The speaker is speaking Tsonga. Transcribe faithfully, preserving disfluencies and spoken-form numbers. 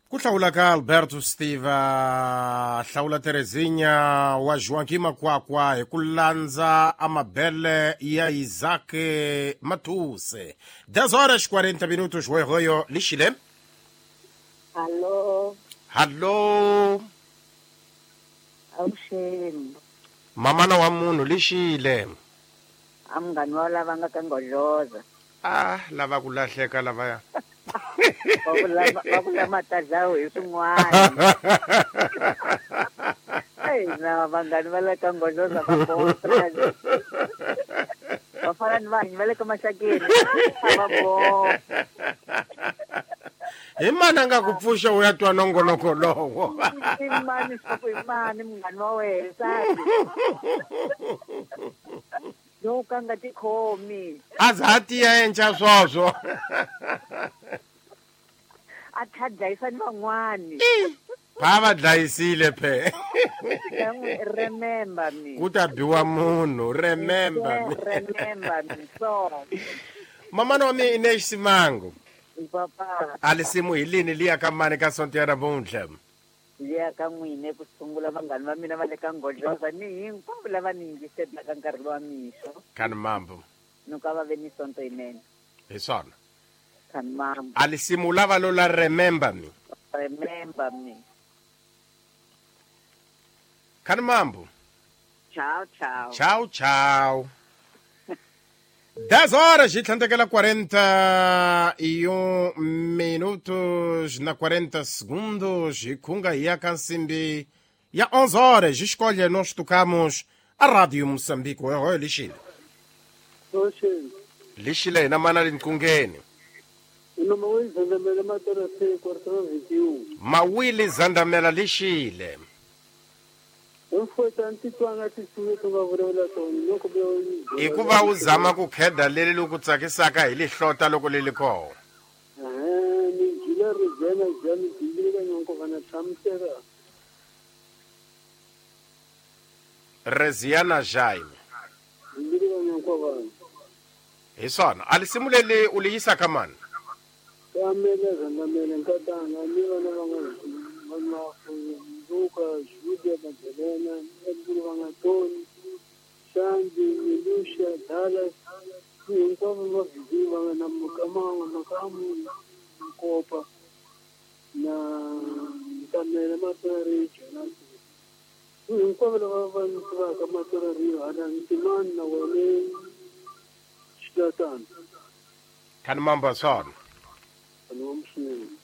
Ku hlawula ka Alberto Steve hlawula Terezinha wa Joaquim Makwakwa hi ku landza amabele ya Isaac Matuse. dez horas quarenta minutos hoyo lixile. Alô. Alô. Awuxeni. Mamana wa munhu lixile. Amngani wa lava nga ka Nghodloza. Ah, lava ku lahleka lavaya. Va vula matadlawu hi swin'wana. Ei, na vanghani va le ka Nghodloza va boha. Va fana ni vanhu va le ka Maxakeni. Va boha. Hi mani a nga ku pfuxa u ya twa nongonoko lowo? I mani swa ku i mani munghani wa wena nsati? Lowu ka nga tikhomi. A za a tiya enca swoswo. A tlha dlayisa ni van'wani. Va va dlayisile phe. Remember me. Ku ta biwa munhu, remember me. Remember me. So. Mamana wa mina Ines Simango. Papa. A lisimu hi lini liya ka mani ka sonto ya namuntlha? Liya ka n'wina ku sungula vanghani va mina va le ka Nghodloza ni hinkwavo lava ni yingiselaka nkarhi lowa mixo. Khani mambo. Ni ka va ve ni sonto yinene. Hi swona. Khani mambo. A lisimu lava lo la remember me. Remember me. Khani mambo. Ciao, ciao. Ciao, ciao. dez horas e tlhandlekela quarenta e um minutos na quarenta segundos e khunga hi ya ka nsimbi ya onze horas. Escolha, nós tocamos a Rádio Moçambique. Oi, lixile. Lixile hina mana linkungeni. Mawili Zandamela lixile. Hikuva u zama ku kheda leri loku tsakisaka hi lihlota loko li li kona. Reziana Jaime. Hi swona. A lisimu leri u li yisaka mani? Luka, Julia, Magdalena, Edwin Shandy, Milusha, Dallas, hinkwavo va viziwa na Mukama, Makamu, Nkopa, na Nkamela Matori, Jonathan. Hinkwavo lava va tivaka Matori, hala Ntimani na wena Xilatana. Khani mambo swona. Khani mambo swinene.